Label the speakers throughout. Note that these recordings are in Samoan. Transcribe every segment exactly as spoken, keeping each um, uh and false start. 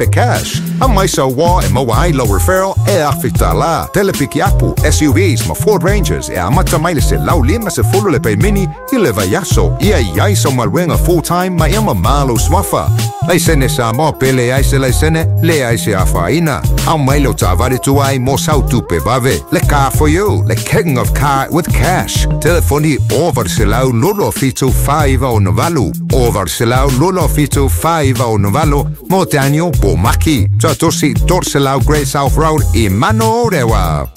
Speaker 1: afe cash. Aumai sau uō e maua ai lau referral e afe tālā. Tele pikiapu, S U Vs ma Ford Rangers e amata mai le selau lima sefulu le paemini i le vaiaso. Ia i ai sau galuega full time ma ia mamā lou suafa. Laisene Samoa pe leai se laisene, leai se afaina. Aumai lau taavale tuai mo sau tupe vave. Le car for you, le king of car with cash. Telefoni o valu selau lolo fitu fa iva ono valu. O valu selau lolo fitu fa iva ono valu mo Daniel Bomaki. Tuatosi tolu selau Great South Road i Manorewa.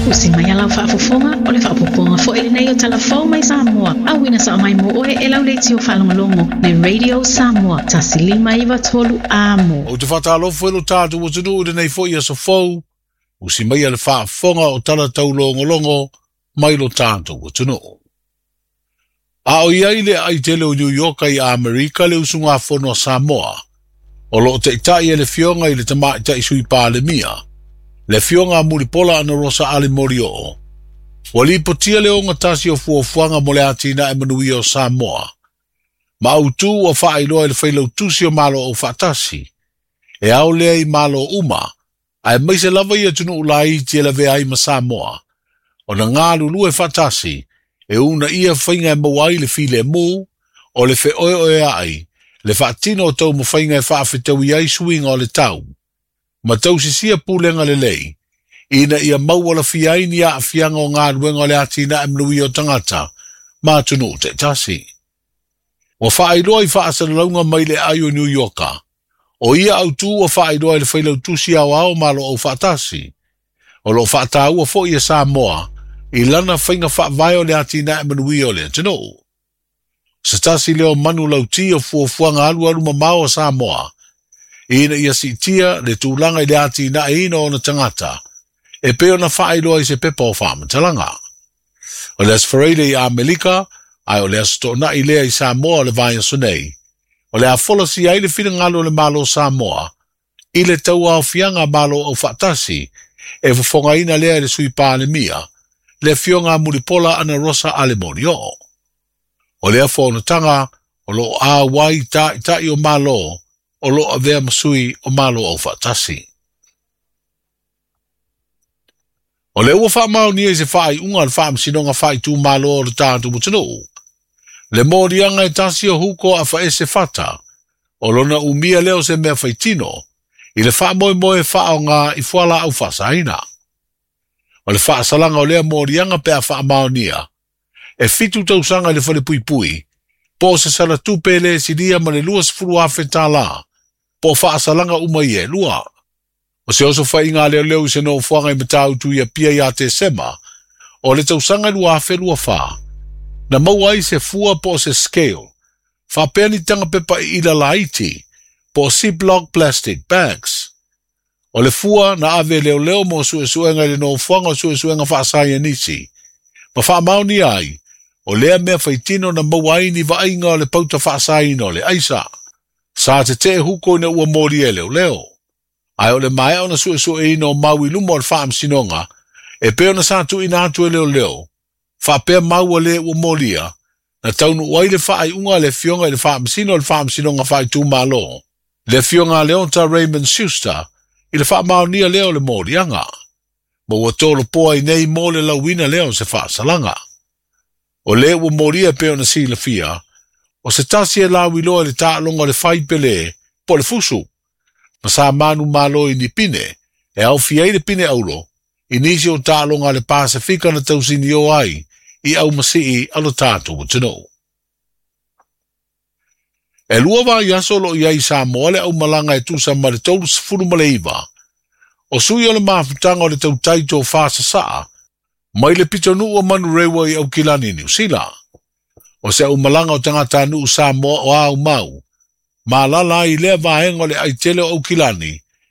Speaker 2: Usi mai alau faafofoga o le faapopoga fo'i lenei o talafou mai Samoa. Auina sa'a mai mo oe e lau leitio faalogologo le Radio Samoa tasi lima iva tolu amo.
Speaker 3: Ou te faatalofa i lo tatou atunuu i lenei fo'i aso fou. Usi mai a le faafofoga o tala taulogologo mai lo tatou atunuu. A o iai le aai tele o New York i Amerika le usugafono a Samoa. O loo taʻitaʻi e le Afioga i le Tamaʻitaʻi Sui Palemia, le Afioga a Mulipola Anarosa Ale Molioo. Ua lipotia le ogatasi o fuafuaga mo le atinae manuia o Samoa. Ma autū ua faailoa i le failautusi o Malo Aufaatasi. E ao lea i Malo uma, aemaise lava i atunuu laiti e lavea ai ma Samoa. Ona galulue faatasi, e uunaia faiga e maua ai le filemu, o le feoeoeaʻi, le faatino o taumafaiga e faafetaui ai suiga o le tau. Ma tausisia pulega lelei, ina ia maua lafia ai ni aafiaga o galuega o le atinae manuia o tagata ma atunuu taʻitasi. Ua faailoa i faasalalauga mai le aai o New Yorka. O ia autū ua faailoa i le failautusi aoao Malo Aufaatasi. O loo faataua fo'i e Samoa i lana faiga faavae o le atinae manuia o le atunuu. Se tasi lea o manu lauti o fuafuaga alualu mamao a Samoa, ina ia siitia le tulaga i le atinaeina o ona tagata, e pei ona faailoa i se pepa o faamatalaga. O le Aso Faraile i Amerika, ae o le aso Toonai lea i Samoa o le vaiaso nei. O le a folasia ai le finagalo o le Malo o Samoa i le tauaofiaga a Malo Aufaatasi e fofogaina lea e le Sui Palemia, le Afioga a Mulipola Anarosa Ale Molioo. O lea fonotaga o loo auai taʻitaʻi o Malo o loo avea ma sui o Malo Aufaatasi. O le ua faamaonia i se faaiuga a le Faamasinoga Faaitumalo o le tatou atunuu. Le moliaga e tasi o huko afaese fata, o lona umia lea o se mea faitino, i le faamoemoe faaoga i fualaau faasaina. O le faasalaga o lea moliaga pe a faamaonia, e fitu tausaga i le falepuipui, po o se salatupe le silia ma le luasefulu afe tālā, po o faasalaga uma ia e lua. O se oso faiga a leoleo i se nofoaga i Matautu i Apia ia Tesema, o le tausaga lua afe lua fā, na maua ai se fua po o se scale, faapea ni taga pepa iila laiti, po o Ziploc plastic bags. O le fua na ave leoleo mo suesuega i le nofoaga o suesuega faasaianisi, ma faamaonia ai, o lea mea faitino na maua ai ni vaaiga o le pauta faasaina o le aisa. Sa tetee huko ina ua molia e leoleo. Ae o le maea ona suesueina o mau i luma o le faamasinoga, e pei ona sa tuuina atu e leoleo, faapea mau a le ua molia, na taunuu ai le faaiuga a le Afioga i le Faamasino o le Faamasinoga Faaitumalo, le Afioga a Leota Raymond Schuster, i le faamaonia lea o le moliaga. Ma ua tolopoa i nei mo le lauina lea o se faasalaga. O le ua molia pei ona silafia, o se tasi e lauiloa i le taaloga o le faipelē po o le fusu, ma sa manumalo i ni pine, e aofia ai le pine aulo, i nisi o taaloga a le Pasifika na tausinio ai i aumasii a lo tatou atunuu. E lua vaiaso o loo i ai i Samoa le aumalaga e tusa ma le tolusefulu ma le iva. O sui o le mafutaga o le tautai tofā sasaa, mai le pitonuu o Manurewa i Aukilani Niu Sila. O se aumalaga o tagatanuu Samoa o aumau, ma alala ai i lea vaega o le aitele o Aukilani,